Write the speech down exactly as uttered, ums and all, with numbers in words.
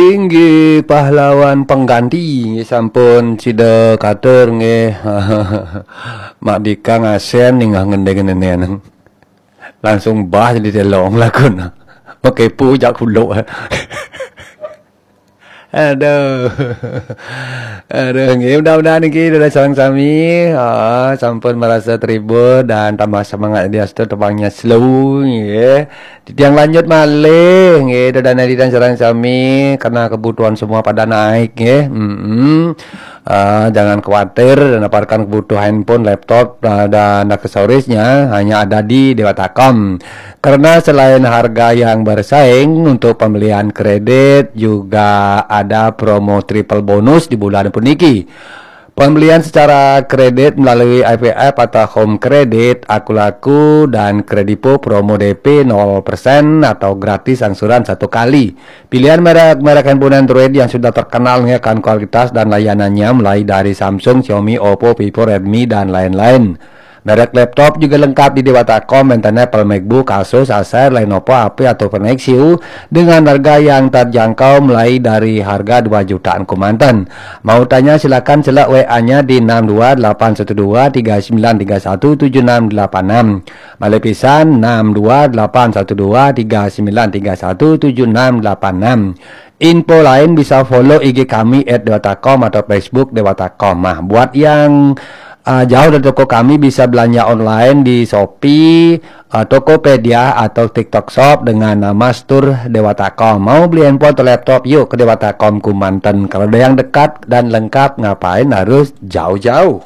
Inggih pahlawan pengganti, inggih sampun sida katur, inggih. Mak Dika ngasen ninggah ngendeng-ngendeng. Langsung bah jadi telong lakun. Makepu jak kuluk. Aduh. Aduh, inggih, mudah-mudahan inggih ida sareng sami, ah, sampun merasa terhibur dan tambah semangat diastu tebangnya slow, inggih. Titiang lanjut malih, inggih, ida dan ida sareng sami, karena kebutuhan semua pada naik, inggih. Mm-mm. Ah, jangan khawatir, dapatkan kebutuhan handphone, laptop, ah, dan aksesorisnya hanya ada di Dewata Com. Karena selain harga yang bersaing, untuk pembelian kredit juga ada promo triple bonus di bulan puniki. Pembelian secara kredit melalui I P F atau Home Credit, Akulaku, dan Kredipo, promo D P nol persen atau gratis angsuran satu kali. Pilihan merek-merek handphone Android yang sudah terkenal akan kualitas dan layanannya, mulai dari Samsung, Xiaomi, Oppo, Vivo, Redmi, dan lain-lain. Merek laptop juga lengkap di Dewata Com, enten Apple, MacBook, Asus, Acer, Lenovo, H P, ataupun Nexus dengan harga yang terjangkau, mulai dari harga dua jutaan kemanten. Mau tanya, silakan celek W A-nya di enam dua delapan satu dua tiga sembilan tiga satu tujuh enam delapan enam. Malih pisan, enam dua delapan satu dua tiga sembilan tiga satu tujuh enam delapan enam. Info lain bisa follow I G kami at dewata com atau Facebook Dewata Com. Nah, buat yang, uh, jauh dari toko kami, bisa belanja online di Shopee, uh, Tokopedia, atau TikTok Shop dengan nama Store Dewata Com. Mau beli handphone atau laptop, yuk ke Dewata Com kemanten. Kalau ada yang dekat dan lengkap, ngapain harus jauh-jauh?